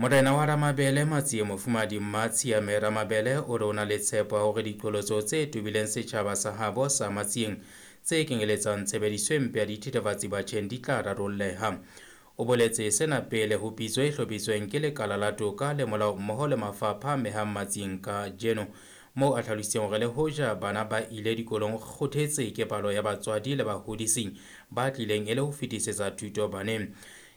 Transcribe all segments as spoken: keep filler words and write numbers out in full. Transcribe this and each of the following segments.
Morena wa Ramabele Matsie Mofumadi Mmatshiame Ramabele o re o na le tshepo ya hore diqholotso tse tobileng setjhaba sa habo sa Matsieng tse kenyeletsang tshebediso e mpe ya dithethefatsi batjheng di tla rarolleha. O boletse sena pele ho pitso e hlophisweng ke lekala la toka le molao mmoho le mafapha a amehang Matsieng kajeno, moo a hlalositseng hore le hoja bana ba ile dikolong o kgothetse ke palo ya batswadi le bahodisi ba tlileng e le ho fetisetsa thuto baneng.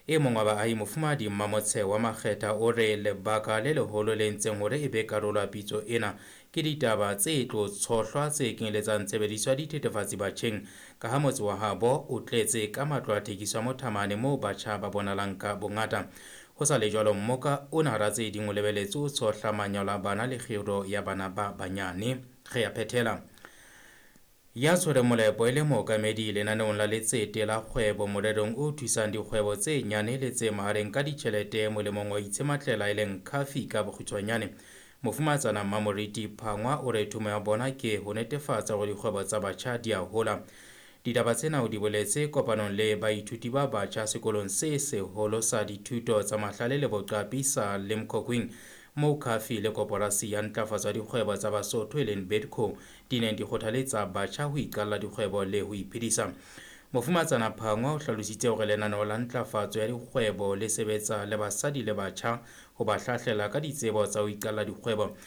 E mong wa baahi Mofumadi Mmamotshe wa Makgetha o re lebaka le leholo le entseng hore e be karolo ya pitso ena ke ditaba tse tlo tshohlwa tse kenyeletsang tshebediso ya dithethefatsi batjheng, ka ha motse wa habo o tletse ka matlo a thekiso ya mothamane moo batjha ba bonalang ka bongata. Ho sa le jwalo, mmoka ona hara tse ding o lebeletse ho tshohla manyalo a bana le kgiro ya bana ba banyane. Re a phethela. Ya tshwereng molepo e le mookamedi lenaneong la letsete la kgwebo morerong o thusang dikgwebo tse nyane le tse mahareng ka ditjhelete molemong wa itshematlela e leng Khafi ka bokgutshwanyane, Mofumatsana Mmamoriti Phangwa o re thomo ya bona ke ho netefatsa hore dikgwebo tsa batjha di a hola. Ditaba tsena o di boletse kopanong le baithuti ba batjha sekolong se seholo sa dithuto tsa mahlale le boqapi sa Limkokwing, moo Khafi le koporasi ya ntlafatso ya dikgwebo tsa Basotho e leng Bidco di neng di kgothaletsa batjha ho iqalla dikgwebo le ho iphedisa. Mofumatsana Phangwa o hlalositse hore lenaneo la ntlafatso ya dikgwebo le sebetsa le basadi le batjha ho ba hlahlela ka ditsebo tsa ho iqalla dikgwebo.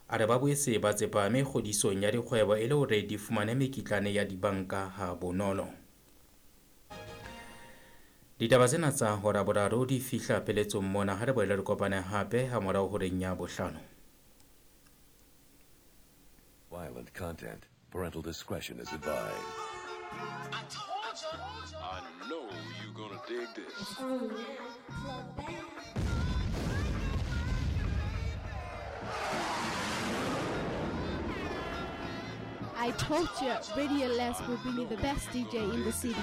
A re ba boetse ba tsepame kgodisong ya dikgwebo e le hore di fumane mekitlane ya dibanka ha bonolo. Ditaba tsena tsa hora boraro di fihla pheletsong mona. Ha re boele re kopane hape ha morao horeng ya bohlano. Violent content. Parental discretion is advised. I told you. I know you're gonna dig this. I told you, Radio Les will bring you the best D J in the city.